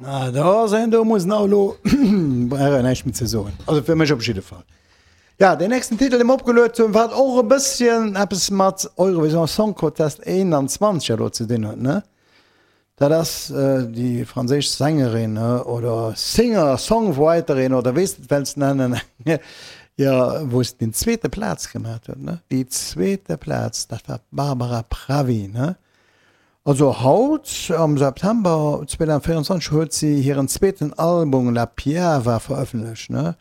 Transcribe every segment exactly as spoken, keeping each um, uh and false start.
Na da sinn do muss nach elo brauch näischt méi ze soen. Also fir mech op jidde Fall. Ja, deen nächsten Titel, dee mer opgeluet hunn, wat och e bësschen eppes mat Eurovision Song Contest einundzwanzeg elo ze dinn huet, ne? Dat ass déi franséisch Sängerin oder Singer, Songwriterin oder wéi s de et wells nennen, jo, wou se den zweete Plaz gemaat huet, ne? Déi zweete Plaz, dat war d'Barbara Pravi, ne? Also haut, am September zweedausendvéierundzwanzeg, huet si hiren zweeten Album La Piava verëffentlecht, ne?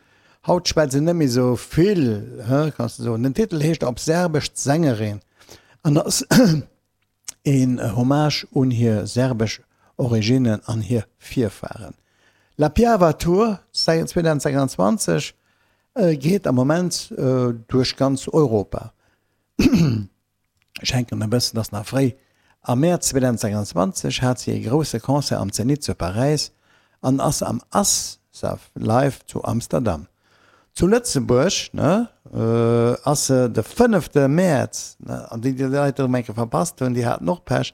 Haut schwätzt se net méi sou vill, kanns de soen. Den Titel heescht op Serbesch d'Sängerin an ass een Hommage un hir serbesch Originnen an hir Virfaren. La Piava Tour zweedausendsechsundzwanzeg geet am Moment duerch ganz Europa. Ech hänken e bëssen, ass nach fréi. Am Mäerz zweedausendsechsundzwanzeg hat si ee grousse Concert am Zénith zu Paräis an ass am Asaf Live zu Amsterdam. Zu Lëtzebuerg, ne, ass se de fënnefte Mäerz, ne, an déi, déi Leit erëm eng Kéier verpasst hunn, déi haten och Pech,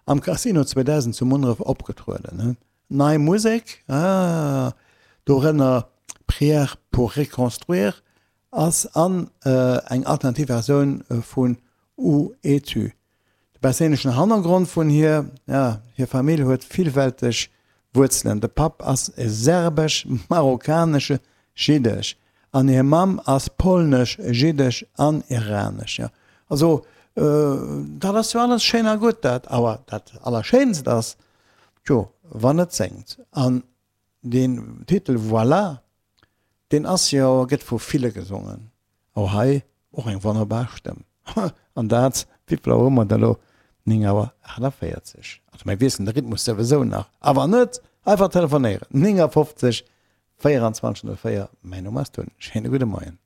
am Casino zweedausend zu Munneref opgetrueden, ne. Nei Musek, ah, dorënner Prière pour reconstruire ass an eng alternativ Versioun vun Où es-tu? De perséinlechen Hannergrond vun hir, ja, hir Famill huet villfälteg Wuerzelen, de Papp ass e serbesch-marokkanesche Jiddesch an hir Mamm ass polnesch-jiddesch an iranesch. Jo, also dat ass jo alles schéin a gutt, dat awer dat Allerschéinst ass, tjo, wann et séngt. An deen Titel Voilà, deen ass jo, gëtt vu ville gesongen. Oh hei och eng wonnerbar Stëmm. An dat, wéivill Auer hu mer da lo? Néng Auer achtundvéierzeg. Also mir wiesselen de Rhythmus souwisou nach. A wann net, einfach telefonéieren, néngafofzeg véierundzwanzeg null véier. Mäin Numm ass Tun. Schéine gudde Moien.